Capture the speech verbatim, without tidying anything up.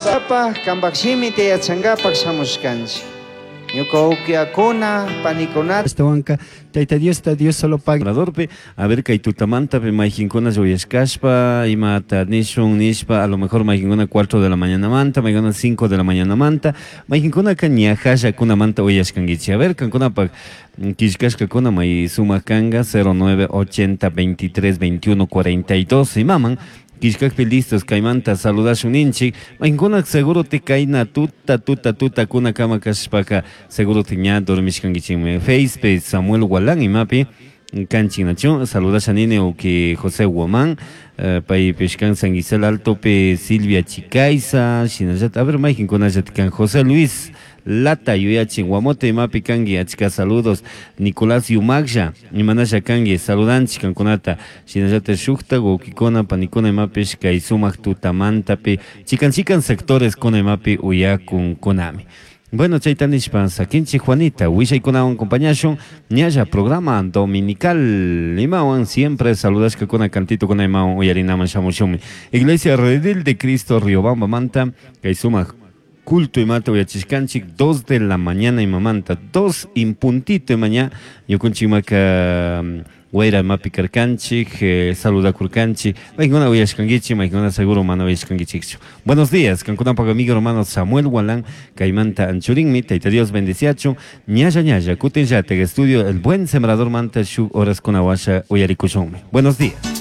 Sapa kambak shimita yachankapak shamushkanchik. Ñuka ukiakuna, panikunata. Ashtawanka Tayta Diosta Dios solo paga. Obradorpi, a ver kay tutamantapi mayqinkuna uyashkashpa imata nishun nishpa a lo mejor mayqinkuna cuatro de la mañanamanta, mayqinkuna cinco de la mañanamanta, mayqinkunaka ñajallakunamanta uyashkankichik. A ver kankunapak killkashkakuna may sumak kanka cero nueve ochenta veintitrés veintiuno cuarenta y dos imaman killkakpi listos kaymanta saludashun ninchik. Mayqinkuna seguro te kayna tuta tuta tuta kuna kama kashpaka seguro te ña dormishkankichikmi. Facebook Samuel Gualán imapi kanchik nachu saludasha nini uki José Guamán, eh, paypish kan San Gisel Altopi Silvia Chicaiza, shinallata, a ver mayqinkunallata kan José Luis Lata yuyachin Guamote imapi kanki achka saludos Nicolás Yumaglla imanasha kanki saludanchik kankunata shinallata shukta wawkikuna panikuna imapish kay sumak tutamantapi chikan chikan sectores kuna imapi uyakunkunami. Bueno, chayta nishpa sakinchik Juanita, willaykunawan acompañashun ñalla programa dominical imawan siempre saludashkakuna cantito kuna imawan uyarinaman shamushunmi. Iglesia Redil de Cristo Riobamba manta kay sumak culto imata uyachishkanchik dos de la mañana imamanta dos in puntito imaña ñukunchikmaka wayra imapi karkanchik, eh, saludakurkanchik, maykuna uyashkankichik, maykuna seguro mana uyashkankichikchu. Buenos días, kankunapak amigo hermano Samuel Gualán, kaymanta anchurinmi, Tayta Dios bendeciachun, ñalla ñalla, kutin llatek estudio El Buen Sembrador manta shuk horas kunawasha uyarikushunmi. Buenos días.